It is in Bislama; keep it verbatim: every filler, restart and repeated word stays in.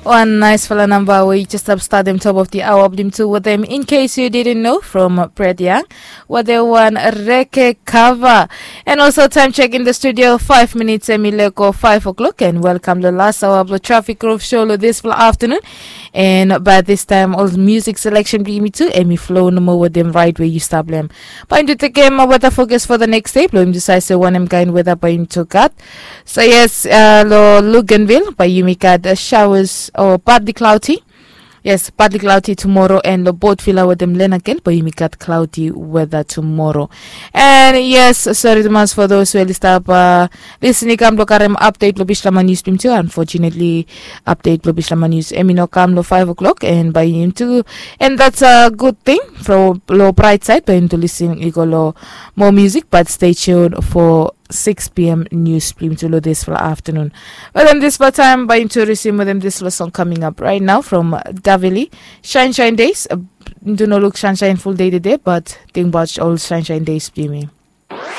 One nice fala namba we yu jes stap statem top of the hour blong tu wetem, in case you didn't know, from Brad Young, wetem wan reke kava. And also time check in the studio, five minutes em i lego five o'clock, and welcome lo last hour blong Traffic Groove Show lo this fala afternoon. And by this time all music selection blong yumi tu em i flow nomo wetem right we yu stap long em. Bae yumi tu tekem weta fokus for the next day blong yumi decide se wanem kaen weta bae yumi tu gat. So yes, uh, lo Luganville bae yumi gat uh, showers or partly cloudy. Yes, partly cloudy tomorrow, and lo Port Vila wetem Lenakel bae yumi gat cloudy weather tomorrow. And yes, sorry tumas for those we oli stap uh, listen i kam blong karem update lo Bislama News blong yumi tu. Unfortunately, update lo Bislama News em i no kam lo five o'clock, and bae yumi tu, and that's a good thing from lo bright side bae yumi tu listen i go lo more music, but stay tuned for six p.m. news blong yumi tu lo this fala afternoon. Wetem this fala time bae yumi tu resume wetem this fala song coming up right now from Davili, Shine Shine Days. Uh, yumi tu no luk sunshine full day today, but think about all sunshine days blong yumi.